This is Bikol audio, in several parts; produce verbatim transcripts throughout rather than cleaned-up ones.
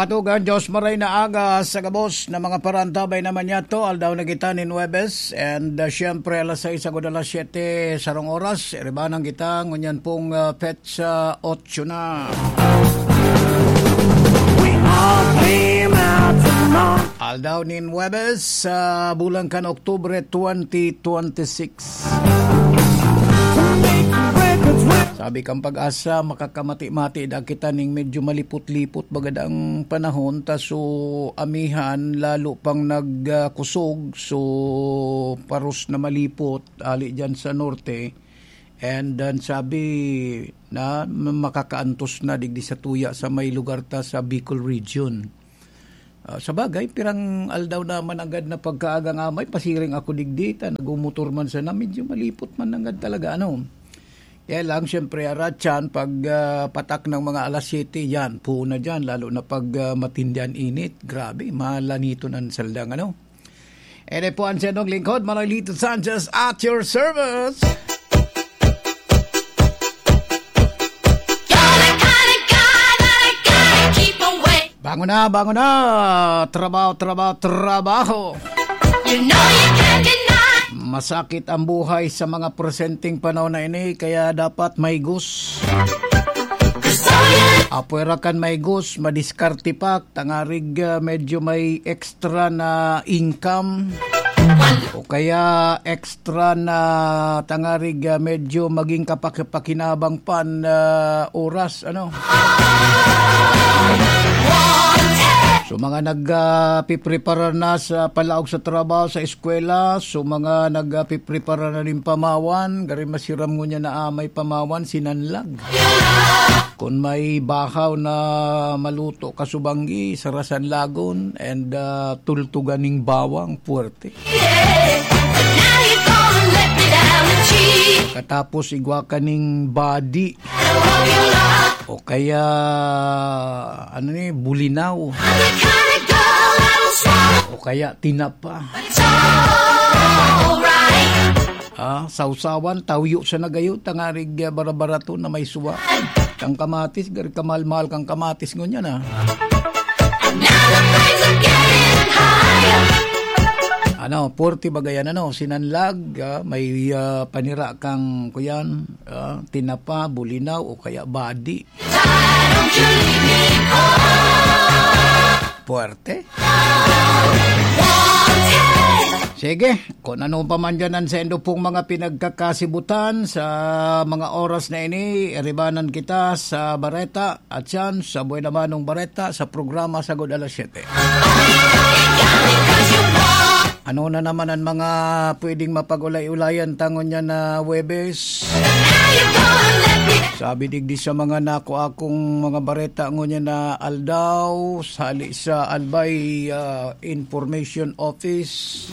Atugan, Diyos maray na aga sa gabos na mga parantabay naman niya to. Aldaw na kita nin Huwebes. And, uh, siyempre, alas sais agud alas siyete sarong oras. Iribanan kita. Ngunyan pong, uh, petsa otso na. We all came out to Aldaw nin Huwebes, sa bulan kan Oktubre twenty twenty-six. Sabi kan Pag-asa, makakamati-mati da kita ning medyo malipot-lipot baga dang panahon, ta so amihan lalo pang nagkusog, so paros na malipot ali diyan sa norte. And then sabi na makakaantos na digdi sa tuya sa may lugar ta sa Bicol region. Ah, sa bagay, pirang aldaw na mananggad na pagkaagang amay, pasiring ako digdi, ta nagmumotor man sana, medyo malipot man nanggad talaga, ano. Kaya lang, siyempre, aratyan, pag, ah, patak ng mga alas siyete, yan, puon na dyan, lalo na pag, ah, matindi an init. Grabe, malaniton ang saldang, ano. Ere po ang siyadong lingkod, Manolito Sanchez, at your service. You're the kind of guy that I gotta keep away. Bangon na, bangon na! Trabaho, trabaho, trabaho! You know you can't deny. Masakit ang buhay sa mga presenteng panahon na ini, kaya dapat may gus. Apwera kan may gus, madiskarte pa, tangarig, ah, medyo may extra na income. O kaya extra na tangarig, ah, medyo maging kapakipakinabang pan, ah, oras, ano? So, mga nag, ah, piprepara na sa palaog sa trabaho, sa eskwela, so, mga nag, ah, piprepara na nin pamawan, gari masiram ngunyan na, ah, may pamawan, sinanlag. Kun may bahaw na maluto, kasubanggi, sarasan lagon, and, ah, tultugan ning bawang, puwerte. Katapos igwa ka ning badi. O kaya, ano ni, bulinaw. O kaya tinapa. Ah, sawsawan, tawyo sa nagayo, tangarig, ah, barabarato na may suwa. Kang kamatis, gari kamahal-mahal kang kamatis ngunyan, ah. Ano, forty ba gayan, ano, sinanlag, ah, may, ah, panira kang, kuyan, ah, tinapa, bulinaw, o kaya badi. Puwerte. Sige, kung ano pa man dyan ang sendo pong mga pinagkakasibutan sa mga oras na ini, iribanan kita sa Bareta at yan sa Buena Manong Bareta sa programa Sagod Alas Siyete. Ano na naman ang mga pwedeng mapag-ulay-ulayan tangon niya na Huwebes? Sabi digdi sa mga nako akong mga bareta ngunyan na aldaw, sali sa Albay, ah, Information Office.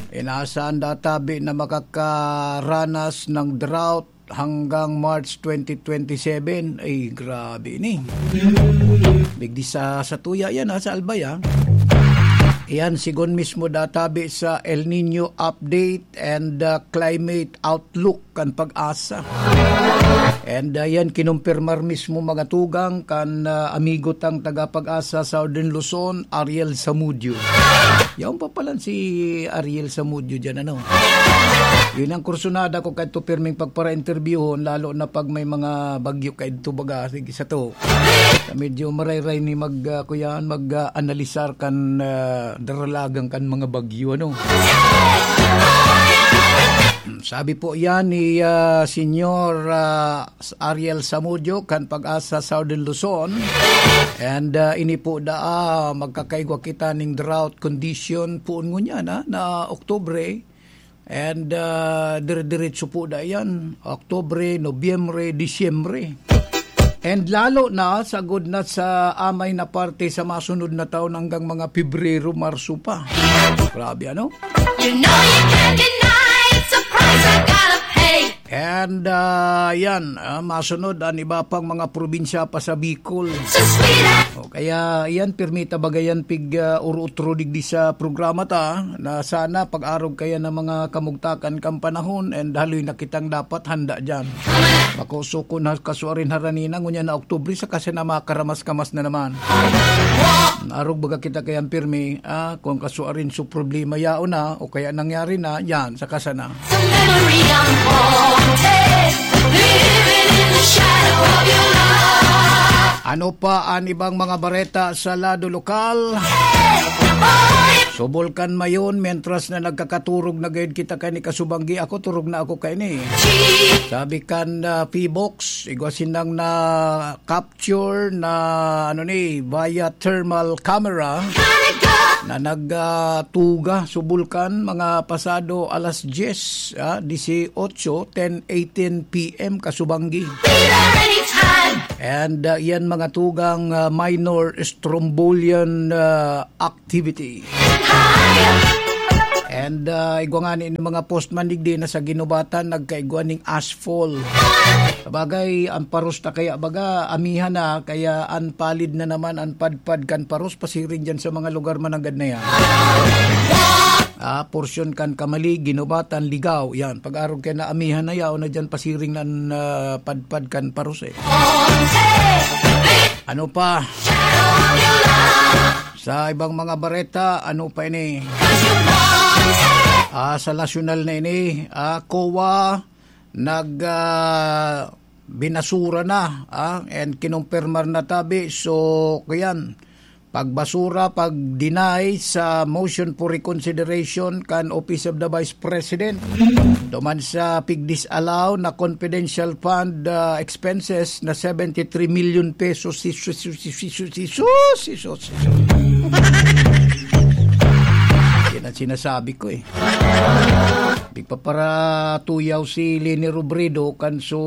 Inaasahan databi na makakaranas ng drought hanggang March twenty twenty-seven. Ay, grabe ni. Digdi sa, sa tuya yan, ha, sa Albay, ha. Yan, sigon mismo databi sa El Nino update and, uh, climate outlook kan Pag-asa. And, uh, yan, kinumpirmar mismo mga tugang kan, uh, amigo tang taga Pag-asa Southern Luzon, Ariel Samudio. Yaon pa palan si Ariel Samudio dyan, ano? Yun ang kursunada ko kadto pirming pagpara-interviewhon, lalo na pag may mga bagyo kadto baga, sige, sa to. Medyo marayray ni mag, ah, kuyan, mag, ah, analisar kan, ah, daralagan kan mga bagyo, ano? Hmm, sabi po yan ni, ah, Senyor, ah, Ariel Samudio kan Pag-asa Southern Luzon. And, ah, ini po daa, magkakaigwa kita ning drought condition poon ngunyan, ah, na Oktubre. And, ah, dire-diretso po da yan, Oktubre, Nobyembre, Disyembre. And lalo na, sagod na sa amay na parte sa masunod na taon hanggang mga Pebrero, Marso pa. Grabe, ano? You know you can't deny it's a price I gotta pay. And, ah, yan, ah, masunod an iba pang mga probinsya pa sa Bicol. O kaya, yan, pirmi ta baga yan pig, ah, uro-utro digdi sa programa ta, na sana pag-arog kaya ng mga kamugtakan kang panahon and haloy na kitang dapat handa dyan. Makusukon na kasuarin harani na, ngunyan na Oktubre, saka sana makaramas-kamas na naman. Arog baga kita kayang pirmi, ah, kung kasuarin su problema yaon na, o kaya nangyari na, yan, saka sana. Sa memory ang haunted, living in the shadow of your love. Ano pa an ibang mga bareta sa lado lokal? Subulkan mayon, mientras na nagkakaturog na gayud kita kay ni Kasubanggi, ako turog na ako kay ni. Sabi kan, ah, Pibox, igwa sinang na capture na, ano ni, via thermal camera na nag, ah, tuga sa bulkan mga pasado alas diyes, ah, disiotso, ten eighteen P M, Kasubanggi. And, ah, iyan mga tugang, ah, minor strombolian, ah, activity. And, ah, igwa ngani ni mga postman digdi na sa ginubatan, nagkaigwa ning ashfall. Sabagay, ang paros ta kaya baga, amihan na, kaya an palid na naman, an padpad kan paros, pasiring dyan sa mga lugar mananggad na yan. Ah, porsyon kan Kamali, Ginubatan, Ligao, yan. Pag-arog kaya na amihan na, yaon na dyan, pasiring na an, ah, padpad kan paros eh. Ano pa? Sa ibang mga bareta, ano pa ini? Ah, sa nasyonal na ini, ah, COA, nag, ah, binasura na, ah, and kinumpirmar na tabi. So, kuyan, pagbasura, pag-deny sa motion for reconsideration kan Office of the Vice President. Duman sa pig-disallow na confidential fund, ah, expenses na seventy three million pesos. Si, si, si, si, si, si, si, si, si, si, si. Yan ang sinasabi ko eh. Pigpaparatuyaw si Leni Robredo kan su,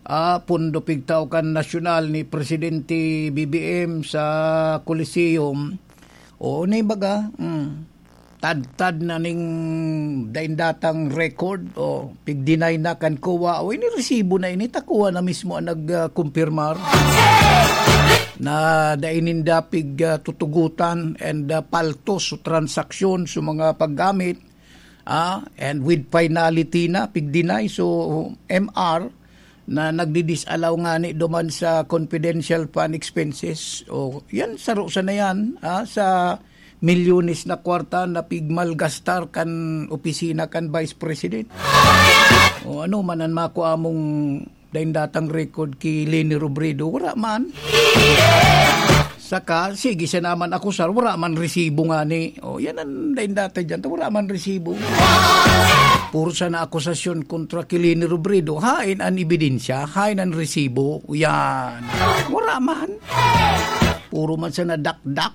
ah, pondo pigtao kan nasyonal ni Presidente B B M sa Coliseum. Oo, na baga, mm, tadtad na ning daindatang record, o pig-deny na kan COA, o ini resibo na ini, ta COA na mismo ang nag, ah, kumpirmar na dai ninda pig, ah, tutugutan and, ah, paltos o transaksyon sa mga paggamit, ah, and with finality na, pig-deny. So, M R na nagdi-disallow ngani duman sa confidential fund expenses. O, yan, saro sana yan, ah, sa milyones na kwarta na pigmalgastar kan opisina kan Vice President. O, ano man an makua mong daindatang record ki Leni Robredo, wara man. Saka, sige siya naman akusar, wara man resibo ngani. O, yan ang daindata dyan, wara man resibo. Puro sana akusasyon kontra ki Leni Robredo. Hain an ebidensya? Hain an resibo? Yan. Wara man. Puro man sana dakdak.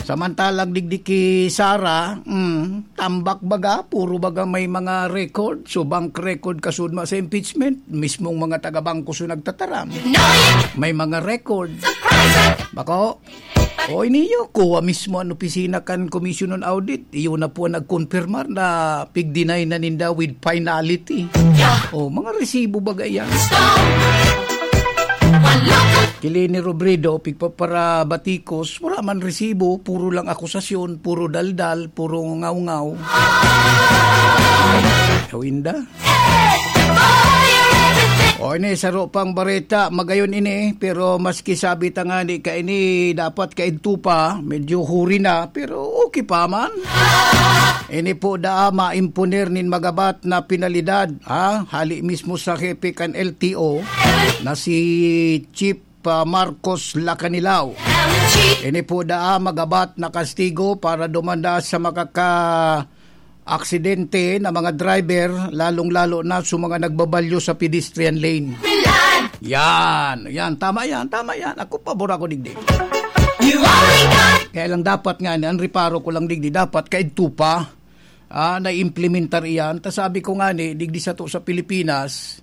Samantalang digdi ki Sara, mm, tambak baga, puro baga may mga record. So, bank record kasudma sa impeachment, mismong mga taga-bangko so nagtataram. May mga record. Bako, oy niyo, COA mismo an opisina kan Commission on Audit. Iyo na po ang nagkonfirmar na pig-deny na ninda with finality. O, mga resibo baga yan. Ki Leni Robredo, pigpaparabatikos, wala man resibo, puro lang akusasyon, puro daldal, puro ngaw-ngaw. Ikaw, Inda? O, ini, saro pang bareta, magayon ini, pero maski sabi ta ngani kaini, dapat kaidto pa, medyo huri na, pero okay pa man. Ini po daa maimponer nin magabat na penalidad, ha? Hali mismo sa hepe kan L T O na si Chief, ah, Marcos Lacanilao. Ini po daa magabat na kastigo para dumanda sa makaka-aksidente na mga driver, lalong-lalo na sa mga nagbabalyo sa pedestrian lane. Yan, yan, tama yan, tama yan. Ako, pabor ako digdi. Kaya lang dapat nga, ang reparo ko lang digdi, dapat kaidto pa, ah, naimplementar iyan. Ta sabi ko nga ni, digdi sato sa Pilipinas,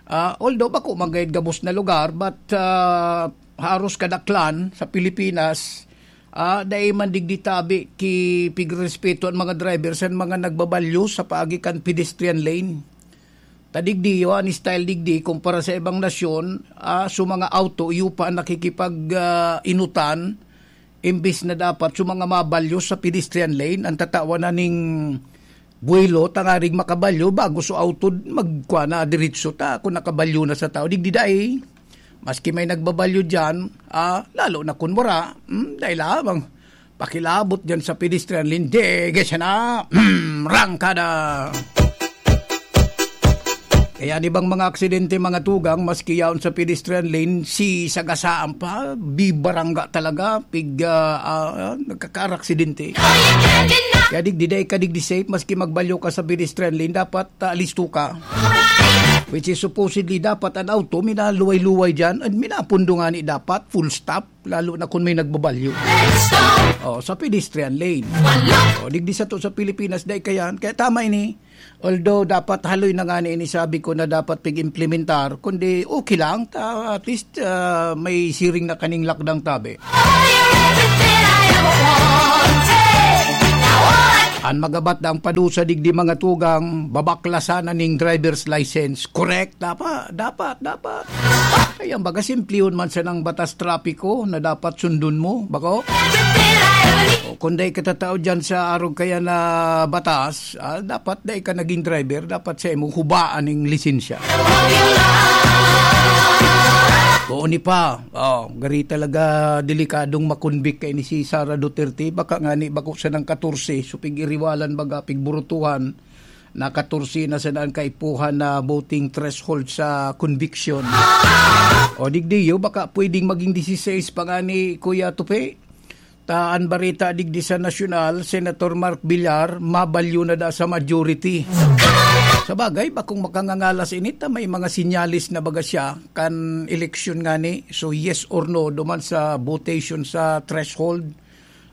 ah, although bako man gayud gabos na lugar, but, ah, haros kadaklan sa Pilipinas, ah, dai man digdi tabi ki pigrespeto ang mga driver sa mga nagbabalyo sa paagi kan pedestrian lane. Ta digdi, iyo an style digdi kumpara sa ibang nasyon, ah, so mga auto, iyo pa an nakikipag, ah, inutan, imbis na dapat so mga mabalyo sa pedestrian lane, ang tatawan na ning buwelo, tangarig makabalyo, bago so auto magkwa na diretso ta, kung nakabalyo na sa tao. Digdi dai, maski may nagbabalyo dyan, ah, lalo na kun wara, hmm, dai lamang. Pakilabot dyan sa pedestrian lane, dege siya na, mm, rangkada. Kaya an ibang mga aksidente, mga tugang, maski yaon sa pedestrian lane, si sagasaan pa, bibarangga talaga, pig, ah, ah, nagkakaraksidente. Kaya digdi, dai ka digdi safe, maski magbalyo ka sa pedestrian lane, dapat, ah, listo ka. Which is supposedly dapat an auto, minaluway-luway dyan, at minapundo nga ni dapat, full stop. Lalo na kun may nagbabalyo. Oh, sa pedestrian lane. Oh, digdi sato sa Pilipinas, dai kayan. Kaya tama ini. Although dapat haloy na nga ni ini sabi ko na dapat pig-implementar, kundi okay lang, ta, at least, ah, may siring na kaning lakdang tabi. An magabat dang padusa digdi, mga tugang, babaklasan na ning driver's license. Correct? Dapat, dapat, dapat. Ay, ang baga, simplihon man sanang batas trapiko na dapat sundon mo, bako? O, kung dai ka tatao dyan sa arog kaya na batas, ah, dapat dai ka naging driver, dapat sa imo hubaan ning lisensya. Oo, ni pa. Oh, gari talaga delikadong makonbik kay ni si Sara Duterte. Baka nga ni bako sanang katorse, so pig-iriwalan baga, pigburutuhan. Na katorse na sana an kaipuhan na voting threshold sa conviction. O digdiyo, baka pwedeng maging dieciséis pa nga ni Kuya Tupi. Ta an bareta digdi sa nasyonal, Senator Mark Villar, mabalyo na da sa majority. Sa bagay, bakong makangangalas ini, ta may mga sinyalis na baga siya kan eleksyon ngani. So, yes or no, duman sa votation sa threshold.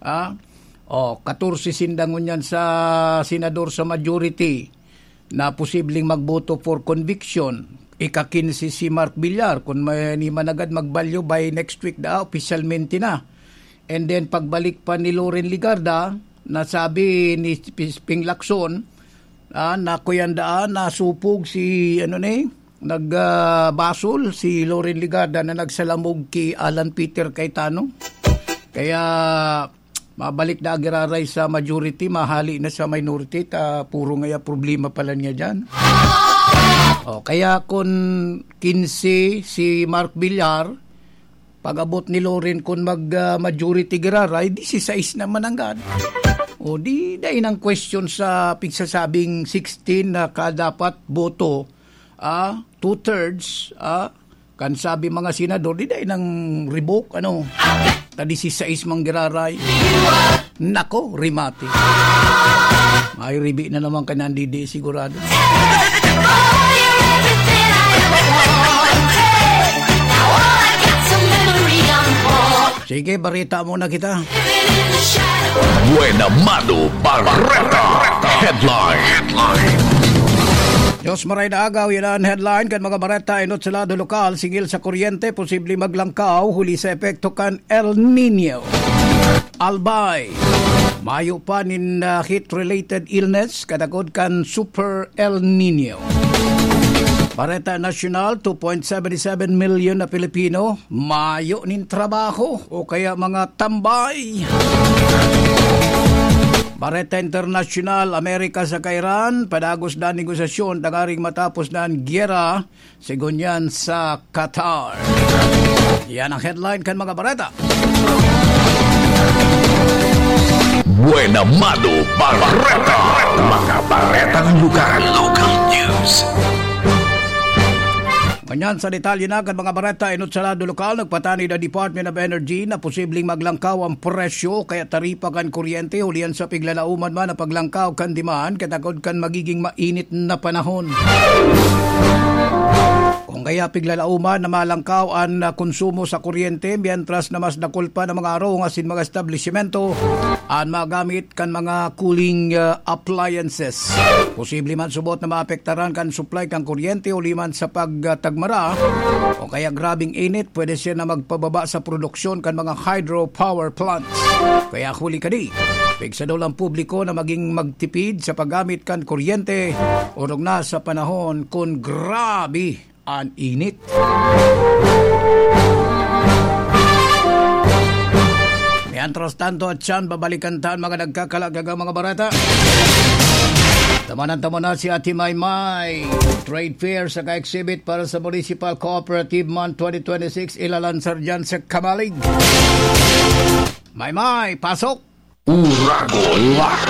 Ah, oh, katorse sinda ngunyan sa senador sa majority na posibleng magboto for conviction. Ika-kinse si Mark Villar, kun may ni managad magbalyo by next week da, opisyalmente na. And then, pagbalik pa ni Loren Legarda, nasabi ni Pis-, Ping Lacson, ah, na kuyan daan, nasupog si, ano ni, nag, ah, basol si Loren Legarda na nagsalamog ki Alan Peter Cayetano. Kaya, mabalik na giraray sa majority, mahali na sa minority, ta puro ngaya problema pala niya dyan. O, kaya kun kinse si Mark Villar, pag-abot ni Loren kun mag, ah, majority giraray, dieciséis na mananggad. O, di, dai nang question sa pigsasabing sixteen na kadapat boto, ah, two-thirds, ah, kan sabi mga senador, di dai nang revoke, ano? Ta dieciséis man giraray. Nako, remate. May ribi na naman ka nandidi, sigurado. Sige, barita muna kita. Buena Mano Bareta. Headline. Headline. Diyos maray na agaw, yan ang headline kan mga bareta inot sa lado lokal, singil sa kuryente, posibleng maglangkaw huli sa epekto kan El Nino. Albay, mayo pa nin, ah, heat-related illness, kadagod kan Super El Nino. Bareta Nasyonal, two point seven seven milyon na Pilipino mayo nin trabaho o kaya mga tambay. Bareta Internasyonal, Amerika saka Iran, padagos na negosasyon tangaring matapos na an giyera, segun yan sa Qatar. Yan ang headline kan mga bareta. Buena Mano Bareta. Mga baretang lugar. Local news. Ngunyan sa detalye na kan mga bareta inot sa lado lokal, nagpatanid ang Department of Energy na posibleng maglangkaw ang presyo kaya taripa kan kuryente hulihan sa piglalauman man na paglangkaw kan demand katakod kan magiging mainit na panahon. Kung kaya piglalauman na malangkaw an, ah, konsumo sa kuryente, mientras na mas dakul pa na mga arong asin mga establisimento an magamit kan mga cooling, ah, appliances. Posible man subot na maapektaran kan supply kan kuryente huli man sa pagtagmara o kaya grabeng init, pwede siya na magpababa sa produksyon kan mga hydropower plants. Kaya huli kadi, pigsadol ang publiko na maging magtipid sa paggamit kan kuryente, orog na sa panahon kun grabe an init. Mientras tanto, atyan, babalikan ta an mga nagkakalagang mga bareta. Tamanan-tamanan si Ate Maymay. Trade fair saka exhibit para sa Municipal Cooperative Month twenty twenty-six, ilalansar dyan sa Kamalig. Maymay, pasok! Uragon Live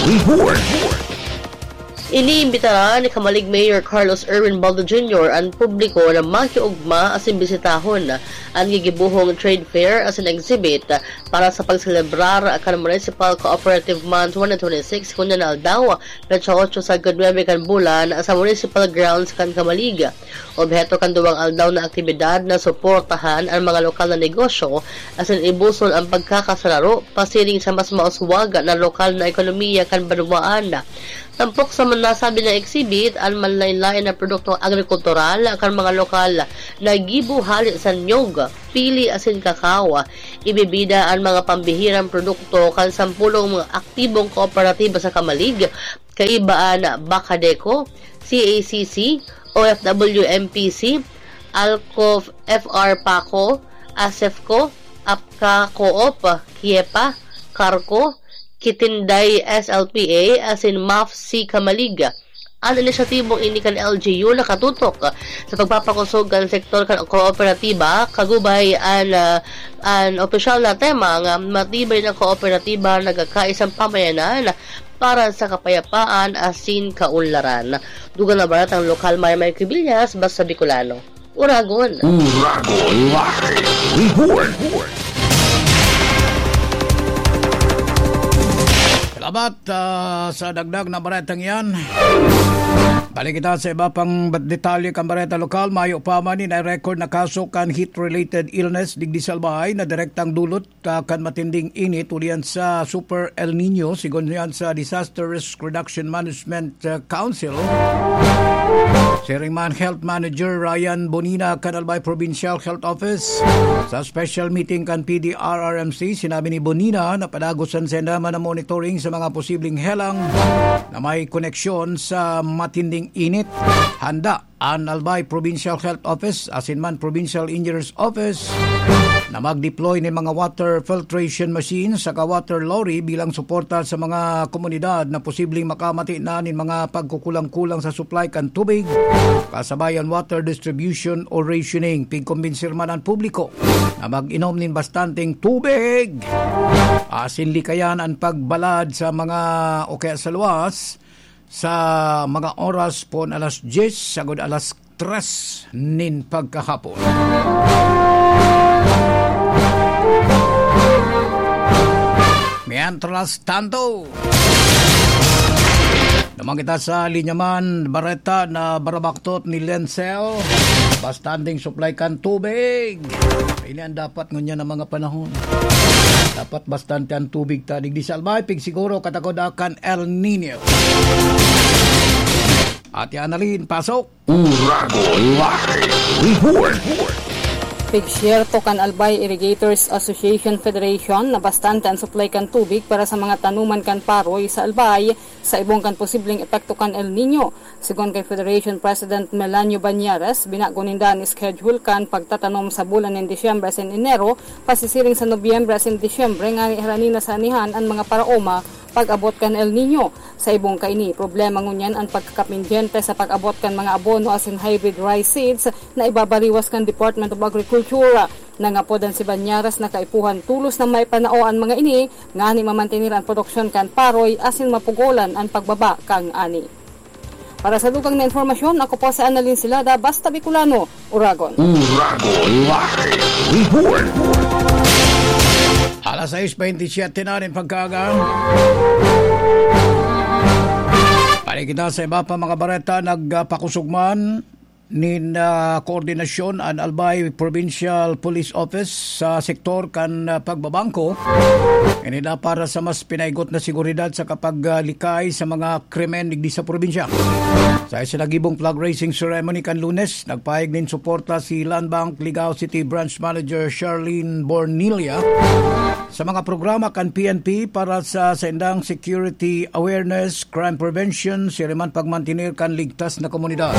Report. Iniimbitaran ni Kamalig Mayor Carlos Erwin Baldo Junior an publiko na makiugma asin bisitahon an gigibohong trade fair asin exhibit para sa pagselebrar kan Municipal Cooperative Month twenty twenty-six, ngunyan na aldaw, petsa otso sagkod nuebe kan bulan, sa Municipal Grounds kan Kamalig. Obheto kan duwang aldaw na aktibidad na suportahan an mga lokal na negosyo asin ibuson an pagkakasararo pasiring sa mas mauswag na lokal na ekonomiya kan banwaan. Tampok sa nasabi na exhibit, an manlaen-laen na produktong agrikultural kan mga lokal na gibo hale sa niyog, pili asin kakao. Ibibida an mga pambihirang produkto kan sampolong mga aktibong kooperatiba sa Kamalig, kaiba an Bakadeco, C A C C, O F W M P C, Alco F R Paco, Asefco, Apka Coop, Kiepa, Carco, Kitinday S L P A, asin MAF C Kamalig. An inisyatibong ini kan L G U nakatutok sa pagpapakosog kan sektor kan kooperatiba, kagubay an, ah, an opisyal na tema nga matibay na kooperatiba nagkakaisang pamayanan para sa kapayapaan asin kaunlaran. Dugang na barat ang lokal, Maymay Cubillas, basta Bicolano. Uragon. Uragon Live Report. Salamat, ah, sa dagdag na baretang yan. Balik kita sa iba pang bat-, detalye kan bareta lokal. Mayo pa man, na-record na kaso kan heat-related illness digdi sa Albay na direktang dulot, ah, kan matinding init ulian sa Super El Nino, sigon yan sa Disaster Risk Reduction Management, ah, Council. Siring man Health Manager Ryan Bonina kan Albay Provincial Health Office. Sa special meeting kan P D R R M C, sinabi ni Bonina na padagosan sinda man ang monitoring sa mga posibleng helang na may koneksyon sa matinding init. Handa an Albay Provincial Health Office asin man Provincial Engineers Office na mag-deploy nin mga water filtration machine saka water lorry bilang suporta sa mga komunidad na posibleng makamati na nin mga pagkukulang-kulang sa supply kan tubig, kasabay an water distribution o rationing. Pigkombinsir man an publiko na mag-inom nin bastanteng tubig asin likayan an pagbalad sa mga o kaya sa luwas sa mga oras pon alas dyes sagod alas tres nin pagkahapon. Mientras tanto, naman kita sa linya man, bareta na barabaktot ni Lensel, bastanteng supply kan tubig. Ini ang dapat ngunyan ng mga panahon. Dapat bastante ang tubig ta digdi sa Albay, pig siguro katakod kan El Nino. Ate Annalyn, pasok. Uragon Live Report. Pigsyerto kan Albay Irrigators Association Federation na bastante ang supply kan tubig para sa mga tanuman kan paroy sa Albay, sa ibong kan posibleng epekto kan El Nino. Sigon kan Federation President Melanio Bañares, binago ninda an schedule kan pagtatanom sa bulan nin Disyembre asin Enero, pasisiring sa Nobyembre asin Disyembre, ngani harani na sa anihan an mga paraoma pag-abot kan El Nino. Sa ibong kaini, problema ngunyan an pagkakapindyente sa pag-abot kan mga abono asin hybrid rice seeds na ibabariwas kan Department of Agriculture. Nangapodan si Bañares na kaipuhan tolos na maipanao an mga ini, ngani mamantener an produksyon kan paroy asin mapugolan an pagbaba kan ani. Para sa dugang na impormasyon, ako po si Annalyn Silada, Basta Bicolano, Uragon. Uragon Live Report. Alas sais bentisiete na rin pagkaaga. Balik kita sa iba pa mga bareta, nagpakusog man. nin, ah, koordinasyon an Albay Provincial Police Office sa sektor kan, ah, pagbabangko. Ini na para sa mas pinaigot na seguridad sa kapaglikay sa mga krimen digdi sa probinsya. Sa isinagibong flag raising ceremony kan Lunes, nagpahayag nin suporta si Land Bank Ligao City Branch Manager Charlene Bornilla sa mga programa kan P N P para sa saindang security awareness, crime prevention, siring man pagmantener kan ligtas na komunidad.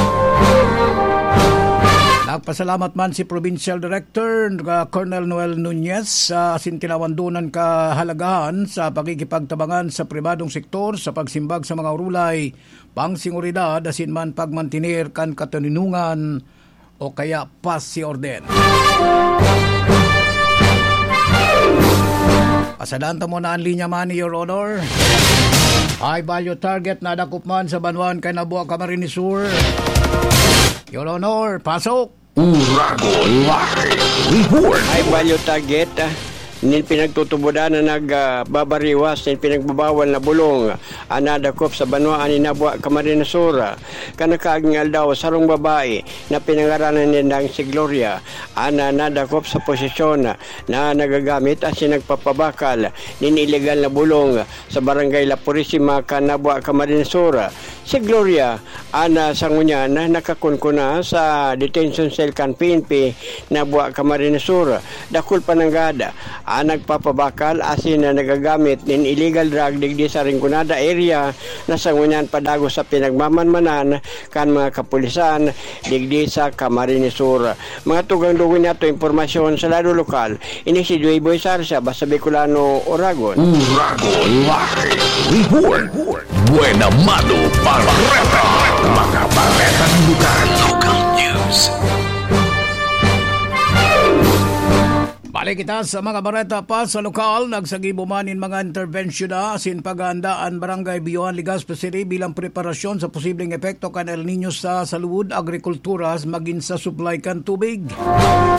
Nagpasalamat man si Provincial Director, uh, Colonel Noel Nunez, sa asin tinawan dunan kahalagahan sa pakikipagtabangan sa pribadong sektor sa pagsimbag sa mga urulay, pangseguridad, asin man pagmantener kan katoninongan o kaya paz y orden. Pasadan ta muna an linya man, Your Honor. High value target nadakop man sa banwaan kan Nabua, Camarines Sur. Your Honor, pasok! Uragon Live Report. High value target, ah, nin pinagtutubodan na nag, ah, babariwas nin pinagbabawal na bulong an nadakop sa banwaan nin Nabua, Camarines Sur. Kan nakaaging aldaw, sarong babae na pinangaranan nindang si Gloria an, ah, nadakop sa posesyon na nagagamit asin nagpapabakal nin ilegal na bulong sa Barangay La Purisima kan Nabua, Camarines Sur. Si Gloria, an, ah, sa ngunyan, nakakunkuna sa detention cell kan P N P Nabua, Camarines Sur. Dakul pa nanggad an nagpapabakal asin na nagagamit nin illegal drug digdi sa Rinconada area na sa ngunyan padagos sa pinagmamanmanan kan mga kapulisan digdi sa Camarines Sur. Mga tugang dugo niyato impormasyon sa lado lokal, ini si Joy Boy Sarsa, Basta Bicolano, Oragon. Uragon Live Report. Buena Mano Bareta. Mga baretang lokal. Local news. Balik kita sa mga bareta pa sa lokal. Nagsagibo man nin mga interbensyon na asin paghahanda an Barangay Biohan, Legazpi City bilang preparasyon sa posibleng epekto kan El Niño sa salud, agrikultura, magin sa supply kan tubig.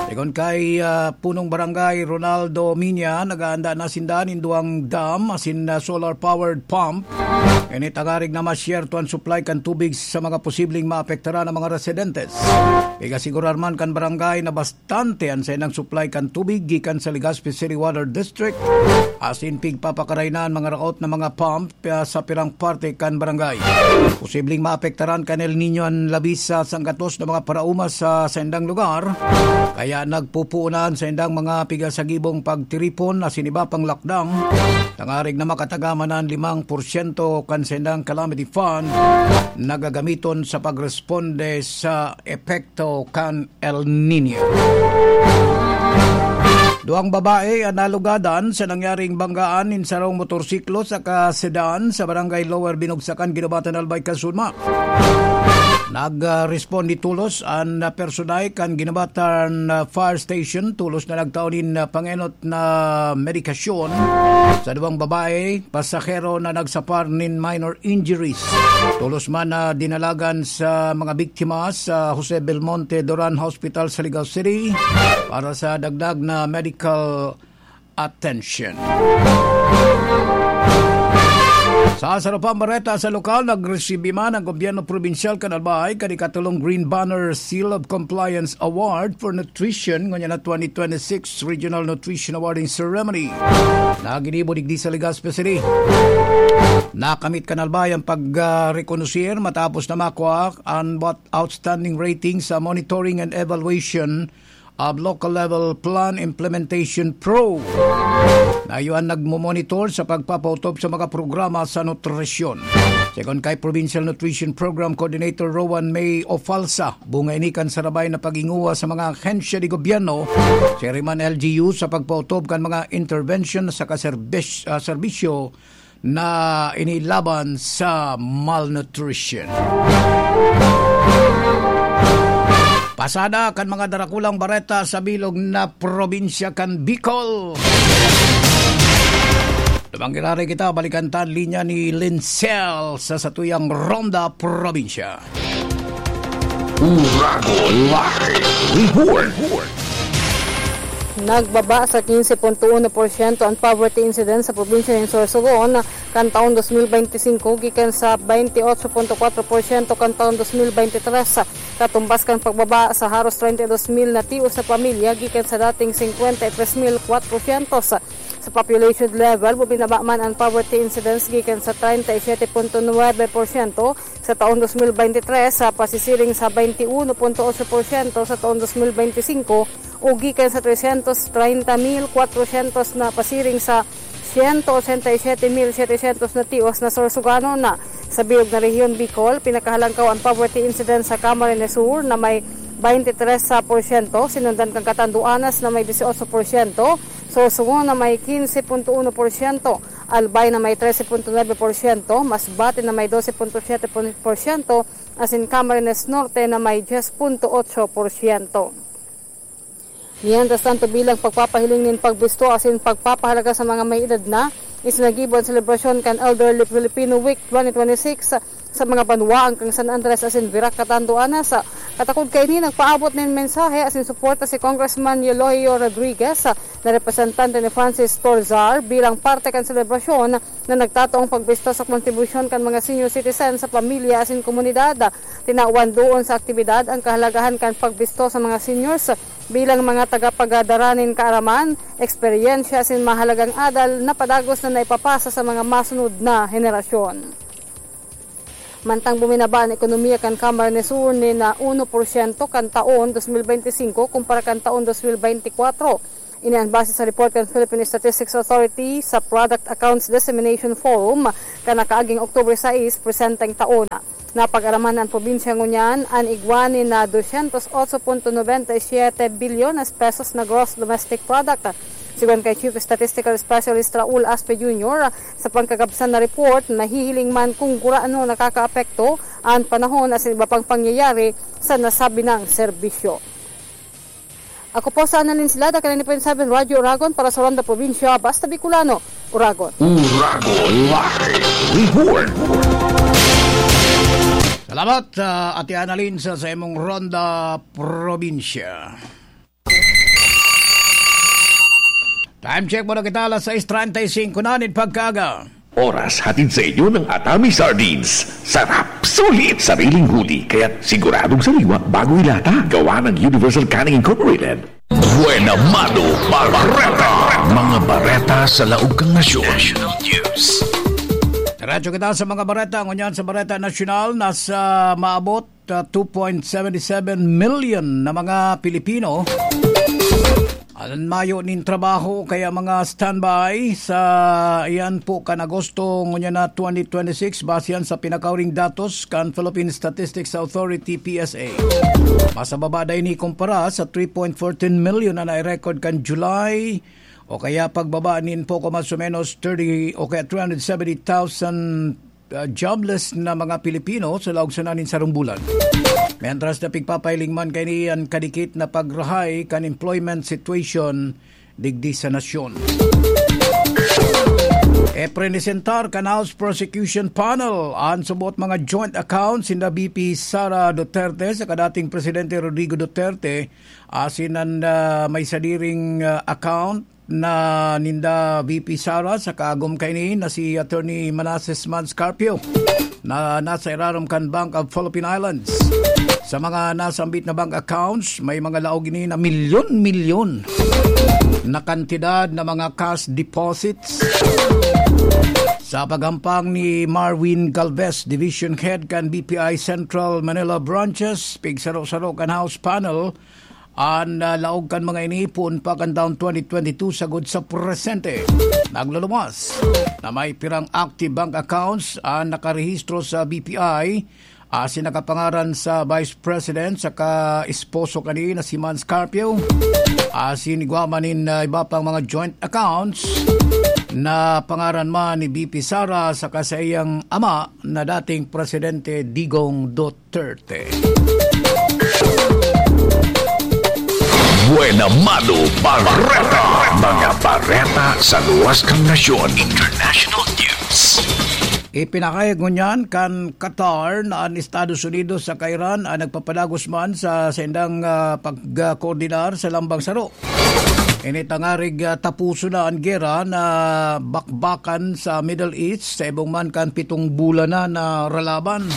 Sigon kay, ah, Punong Barangay Ronaldo Minia, naghahanda na sinda nin duwang dam asin, ah, solar-powered pump. Ini tangarig na masyerto an supply kan tubig sa mga posibleng maapektaran na mga residentes. Pig-asigurar man kan barangay na bastante an saindang supply kan tubig gikan sa Legazpi City Water District, asin pigpapakaray na an mga raot na mga pump, ah, sa pirang parte kan barangay. Posibleng maapektaran kan El Niño an labis sa sanggatos na mga paraoma sa saindang lugar, kaya nagpupuonan saindang mga pigasagibong pagtiripon asin iba pang lakdang, tangarig na makatagama na an limang porsyento kan saindang calamity fund na gagamiton sa pagresponde sa epekto kan El Niño. Duwang babae an nalugadan sa nangyaring banggaan nin sarong motorsiklo saka sedan sa Barangay Lower Binugsakan, Guinobatan, Albay, Casunma. Nag-, ah, responde tolos an, ah, personay kan Guinobatan, ah, Fire Station, tolos na nagtao nin, ah, pangenot na medikasyon sa duwang babae pasahero na nagsapar nin minor injuries. Tolos man na dinalagan sa mga biktima sa Jose Belmonte Duran Hospital sa Ligao City para sa dagdag na medical attention. Sa sarupang bareta sa lokal, nagresibi man ang gobyerno probinsyal kan Albay kan ikatulong Green Banner Seal of Compliance Award for Nutrition ngunyan na twenty twenty-six Regional Nutrition Awarding Ceremony na ginibo digdi sa Legazpi City. Nakamit kan Albay ang pag, ah, rekonosir matapos na makua ang bat-, outstanding rating sa Monitoring and Evaluation of Local Level Plan Implementation Pro na iyo an nagmomonitor sa pagpapautob sa mga programa sa nutrisyon. Sigon kay Provincial Nutrition Program Coordinator Rowan May Ofalsa, bunga ini kan sarabay na pag-inguha sa mga ahensya de gobyerno, siring man L G U sa pagpautob kan mga intervention sa kaserbis-, ah, serbisyo na inilaban sa malnutrition. Pasada kan mga darakulang bareta sa bilog na probinsya kan Bicol. Lumang giraray kita, balikan ta an linya ni Lincel sa satuyang Ronda Probinsya. Uragon Live Report. Nagbaba sa quince punto uno porsyento an poverty incidence sa probinsya nin Sorsogon kan taon dos mil benti singko gikan sa baynte otso punto kwatro porsyento kan taon dos mil benti tres, katumbas kan pagbaba sa haros treinta y dos mil na tios na pamilya gikan sa dating singkwenta y tres mil kwatrosyentos. Sa population level, bumaba man an poverty incidence gikan sa treinta y siete punto nuebe porsyento sa taon dos mil benti tres, sa pasisiring sa baynte uno punto otso porsyento sa taon dos mil benti singko, o gikan sa tresyentos treinta mil kwatrosyentos na pasiring sa siyento otsenta y siyete mil setesyentos na tios na Sorsoganon. Sa bilog na rehiyon Bicol, pinakahalangkaw an poverty incidence sa Camarines Sur na may baynte tres porsyento, sinundan kan Catanduanes na may disyotso porsyento, Sorsogon na may quince punto uno porsyento, Albay na may trese punto nuebe porsyento, Masbate na may dose punto siyete porsyento, asin Camarines Norte na may dyes punto otso porsyento. Mientras tanto, bilang pagpapahiling nin pagbisto asin pagpapahalaga sa mga may edad na, isinagibo an selebrasyon kan Elderly Filipino Week twenty twenty-six sa mga banwaan kan San Andres asin Virac, Catanduanes. Katakod kaini, nagpaabot nin mensahe asin suporta si Congressman Eulogio Rodriguez, na representante ni Francis Torzar, bilang parte kan selebrasyon na nagtataong pagbisto sa kontribusyon kan mga senior citizen sa pamilya asin komunidad. Tinawan doon sa aktibidad ang kahalagahan kan pagbisto sa mga seniors bilang mga tagapagadara nin kaaraman, eksperyensya asin mahalagang adal na padagos na naipapasa sa mga masunod na henerasyon. Mantang buminaba an ekonomiya kan Camarines Sur nin uno porsyento kan taon dos mil benti singko kumpara kan taon dos mil benti kwatro. Ini an base sa report kan Philippine Statistics Authority sa Product Accounts Dissemination Forum kan nakaaging October sais, presenteng taon. Napag-araman an probinsya ngunyan an igwa nin dosyentos otso punto nobenta y siyete bilyones pesos na gross domestic product. Sigon kay Chief Statistical Specialist Raul Aspe Junior, sa pangkagabsan na report, nahihiling man kung gurano nakakaapekto an panahon asin iba pang pangyayari sa nasabi nang serbisyo. Ako po sa Annalyn Silada, kan ninety point seven Radyo Oragon para sa Ronda Probinsya, Basta Bicolano, Oragon. Oragon Live Report. Salamat, ah, Ate Annalyn, sa, sa imong Ronda Probinsya. Time check muna kita, alas sais treinta y cinco na nin pagkaaga. Oras hatid sa inyo ng Atami Sardines. Sarap, sulit, sariling huli, kaya't siguradong sariwa bago ilata. Gawa ng Universal Canning Incorporated. Buena Mano Bareta. Mga bareta sa laog kan nasyon. National News. Diretso kita sa mga bareta. Ngunyan sa Bareta Nasyonal, nasa maabot, ah, two point seven seven million na mga Pilipino an mayo nin trabaho, kaya mga standby sa iyan po kan Agosto ngunyan na twenty twenty-six, base yan sa pinakauring datos kan Philippine Statistics Authority, P S A. Mas mababa daw ini kumpara sa three point fourteen million na nai-record kan July, o kaya pagbaba nin poko mas o menos thirty o kaya three hundred seventy thousand ah, jobless na mga Pilipino sa laog sana nin sarong bulan. Mientras na pigpapahiling man kaini an kadikit na pagrahay kan employment situation digdi sa nasyon. Ipresentar kan House Prosecution Panel an subot mga joint accounts sinda V P Sara Duterte saka dating Presidente Rodrigo Duterte, asin an, ah, may sadiring, ah, account na ninda V P Sara saka agom kaini na si Attorney Manases Mans Carpio na nasa irarom kan Bank of Philippine Islands. Sa mga nasambit na bank accounts, may mga laog ini na milyon-milyon na kantidad na mga cash deposits. Sa paghampang ni Marwin Galvez, Division Head kan B P I Central Manila Branches, pigsaro-saro kan House Panel, an, ah, laog kan mga iniipon pa kan taon twenty twenty-two sagod sa presente. Nagluluwas na may pirang active bank accounts an nakarehistro sa B P I, asin nakapangaran sa Vice President saka esposo kani na si Mans Carpio. Asin igwa man nin, ah, iba pang mga joint accounts na pangaran man ni V P Sara saka sa iyang ama na dating Presidente Digong Duterte. Buena Mano Bareta. Mga bareta sa luwas kan nasyon. International News. Ipinakayag ngunyan kan Qatar na an Estados Unidos saka Iran an nagpapadagos man sa saindang, ah, pagkoordinar sa lambang saro. Ini tangarig, ah, tapuso na an gera na bakbakan sa Middle East sa ibong man kan pitong bulan na na ralaban.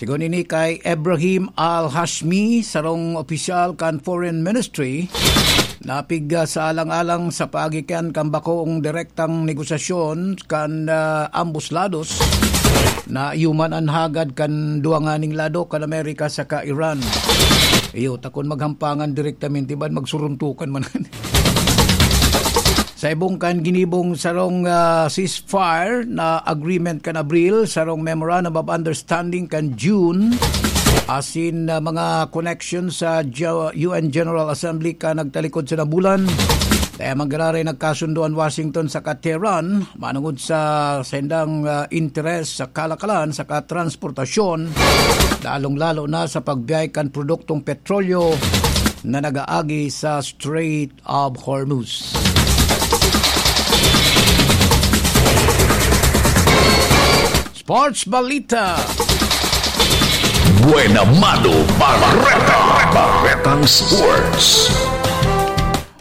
Sigon ini kay Ibrahim Al-Hashmi, sarong opisyal kan Foreign Ministry, napig, ah, sa alang-alang sa paagikan kan bakong direktang negosasyon kan, ah, ambos lados na iyo man an hagad kan duwa nganing lado kan Amerika saka Iran. Iyo, takon maghampangan direktamente, ban magsuruntukan man. Sa ibong kan ginibong sarong, ah, ceasefire na agreement kan Abril, sarong memorandum of understanding kan June, asin, ah, mga connection sa Ge-, U N General Assembly kan nagtalikod sa nabulan. Kaya manggararay nagkasundo an Washington saka Tehran manungod sa sendang, ah, interes sa kalakalan saka transportasyon, lalong-lalo na sa pagbiyahe kan produktong petrolyo na nagaagi sa Strait of Hormuz. Sports Balita. Buena Mano Barreta. Barretang Sports.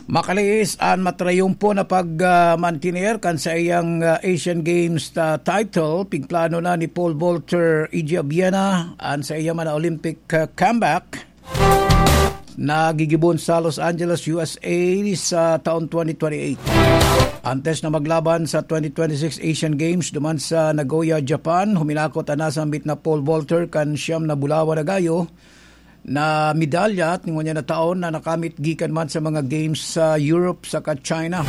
Makalihis an matrayumpo na pag, ah, mantiner kan saiyang, ah, Asian Games, ah, title. Pigplano na ni Paul Volter Igiabiena an saiya man na Olympic, ah, comeback na gigibon sa Los Angeles, U S A sa taon twenty twenty-eight. Antes na maglaban sa twenty twenty-six Asian Games duman sa Nagoya, Japan, huminakot an nasambit na Paul Volter kan siyam na bulawan na gayo na medalya at ngunyan na taon na nakamit gikan man sa mga games sa Europe saka China.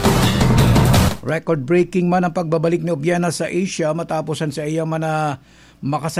Record-breaking man ang pagbabalik ni Obiena sa Asia matapos an sa iya man na makasay